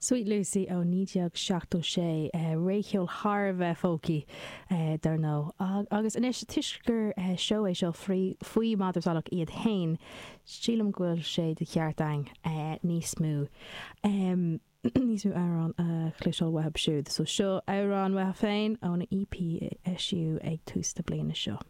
Sweet Lucy ó 1976, récheol thar a bheith folky dar ndóigh. Agus anois, toisc gur seó é seo faoi Madra Salach iad fhéin, sílim go bhfuil sé de cheart againn níos mó níos mó amhrán a chloisteáil uathu siúd. So seo amhrán uathu féin óna EP a eisíodh ag tús na bliana seo.